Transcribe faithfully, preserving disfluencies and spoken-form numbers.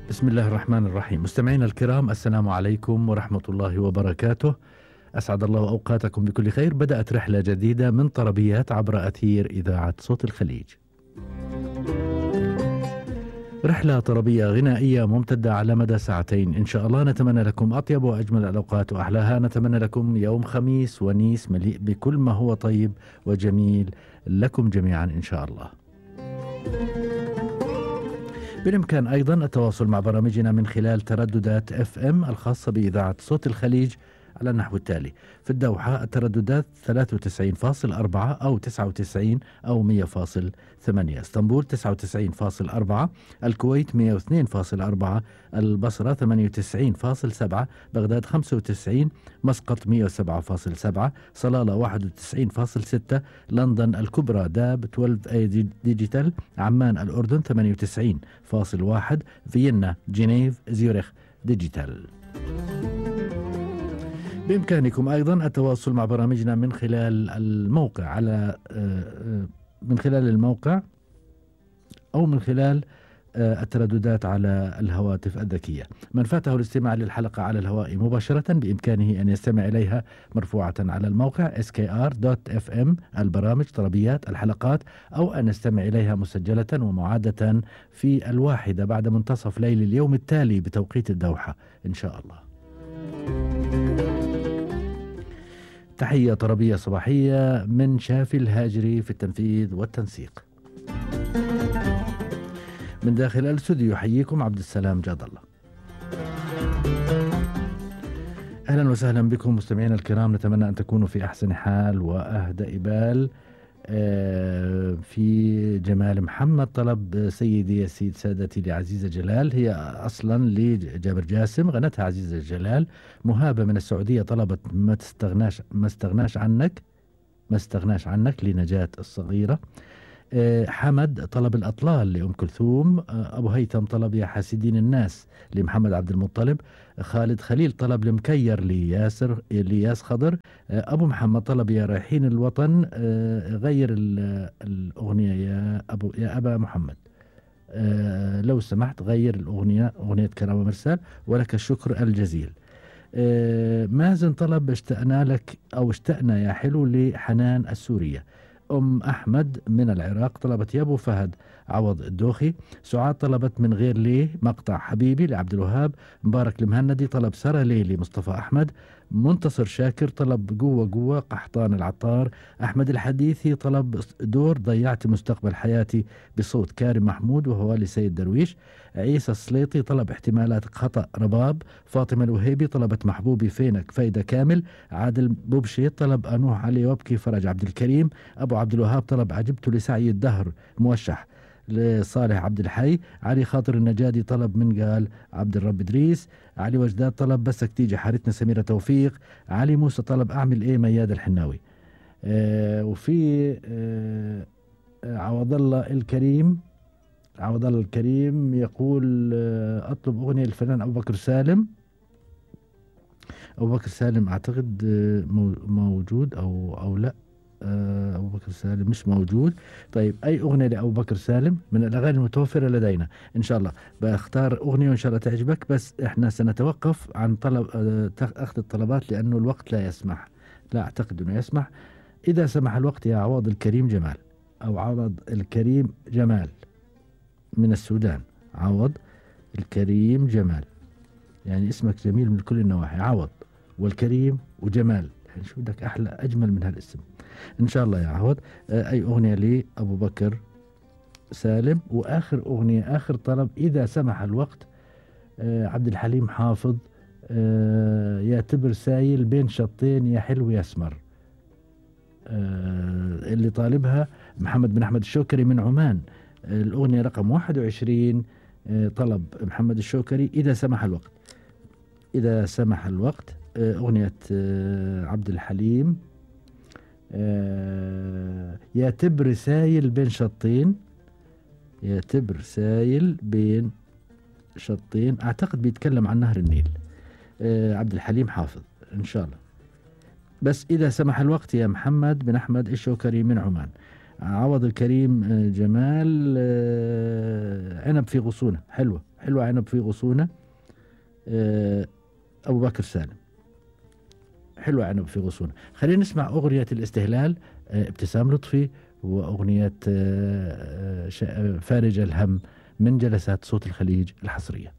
بسم الله الرحمن الرحيم. مستمعينا الكرام، السلام عليكم ورحمة الله وبركاته. أسعد الله أوقاتكم بكل خير. بدأت رحلة جديدة من طربيات عبر أثير إذاعة صوت الخليج. رحلة طربية غنائية ممتدة على مدى ساعتين إن شاء الله. نتمنى لكم أطيب وأجمل الأوقات وأحلاها. نتمنى لكم يوم خميس ونيس مليء بكل ما هو طيب وجميل لكم جميعا إن شاء الله. بالإمكان أيضا التواصل مع برامجنا من خلال ترددات اف ام الخاصة بإذاعة صوت الخليج على النحو التالي: في الدوحة الترددات ثلاثة وتسعين فاصلة أربعة أو تسعة وتسعين أو مية فاصلة ثمانية، اسطنبول تسعة وتسعين فاصلة أربعة، الكويت مية واثنين فاصلة أربعة، البصرة ثمانية وتسعين فاصلة سبعة، بغداد خمسة وتسعين، مسقط مية وسبعة فاصلة سبعة، صلالة واحد وتسعين فاصلة ستة، لندن الكبرى داب اثناشر اي ديجيتال، عمان الأردن ثمانية وتسعين فاصلة واحد، فيينا جنيف زيورخ ديجيتال. بإمكانكم أيضا التواصل مع برامجنا من خلال الموقع على من خلال الموقع أو من خلال الترددات على الهواتف الذكية. من فاته الاستماع للحلقة على الهواء مباشرة بإمكانه أن يستمع إليها مرفوعة على الموقع إس كي آر دوت إف إم البرامج طربيات الحلقات، أو أن يستمع إليها مسجلة ومعادة في الواحدة بعد منتصف ليل اليوم التالي بتوقيت الدوحة إن شاء الله. تحية طربية صباحية من شافي الهاجري في التنفيذ والتنسيق. من داخل الاستوديو يحييكم عبد السلام جاد الله. أهلا وسهلا بكم مستمعينا الكرام. نتمنى أن تكونوا في أحسن حال وأهدى بال. في جمال محمد طلب سيدي يا سيد سادتي لعزيزة جلال، هي أصلا لجابر جاسم، غنتها عزيزة جلال. مهابة من السعودية طلبت ما تستغناش ما استغناش عنك ما استغناش عنك لنجاة الصغيرة. حمد طلب الأطلال لأم كلثوم. أبو هيثم طلب يا حاسدين الناس لمحمد عبد المطلب. خالد خليل طلب لمكير لياسر لياس خضر. أبو محمد طلب يا رايحين الوطن غير الأغنية يا أبو يا أبا محمد، لو سمحت غير الأغنية أغنية كرامة مرسال ولك الشكر الجزيل. مازن طلب اشتقنا لك أو اشتقنا يا حلو لحنان السورية. أم أحمد من العراق طلبت يا أبو فهد عوض الدوخي. سعاد طلبت من غير ليه مقطع حبيبي لعبد الوهاب. مبارك المهندي طلب سرى ليلي مصطفى أحمد. منتصر شاكر طلب قوة قوة قحطان العطار. أحمد الحديثي طلب دور ضيعت مستقبل حياتي بصوت كارم محمود وهو لسيد درويش. عيسى السليطي طلب احتمالات خطأ رباب. فاطمة الوهيبي طلبت محبوبي فينك فايدة كامل. عادل بوبشي طلب أنوح علي وابكي فرج عبد الكريم. أبو عبد الوهاب طلب عجبت لسعي الدهر موشح لصالح عبد الحي. علي خاطر النجادي طلب من قال عبد الرب إدريس. علي وجداد طلب بسك تيجي حارتنا سميرة توفيق. علي موسى طلب أعمل إيه مياد الحناوي. آه وفي آه عوض الله الكريم عوض الله الكريم يقول آه أطلب أغنية الفنان أبو بكر سالم. أبو بكر سالم أعتقد آه موجود أو أو لا. أبو بكر سالم مش موجود. طيب أي أغنية لأبو بكر سالم من الأغاني المتوفرة لدينا إن شاء الله بختار أغنية وإن شاء الله تعجبك، بس إحنا سنتوقف عن طلب أخذ الطلبات لأنه الوقت لا يسمح. لا أعتقد أنه يسمح. إذا سمح الوقت يا عوض الكريم جمال أو عوض الكريم جمال من السودان. عوض الكريم جمال، يعني اسمك جميل من كل النواحي، عوض والكريم وجمال، يعني شو بدك أحلى أجمل من هالاسم إن شاء الله يا عوض. أي أغنية لي أبو بكر سالم. وآخر أغنية آخر طلب إذا سمح الوقت عبد الحليم حافظ يا تبر سايل بين شطين يا حلو يا اسمر، اللي طالبها محمد بن أحمد الشوكري من عمان. الأغنية رقم واحد وعشرين طلب محمد الشوكري إذا سمح الوقت. إذا سمح الوقت أغنية عبد الحليم يا تبر سايل بين شطين يا تبر سايل بين شطين. أعتقد بيتكلم عن نهر النيل. عبد الحليم حافظ إن شاء الله. بس إذا سمح الوقت يا محمد بن أحمد الشوكري من عمان. عوض الكريم جمال عنب في غصونة، حلوة حلوة عنب في غصونة، آه، أبو بكر سالم. حلوة عنب في غصونة. خلينا نسمع أغنية الاستهلال، آه، ابتسام لطفي، وأغنية آه، آه، فارج الهم من جلسات صوت الخليج الحصرية.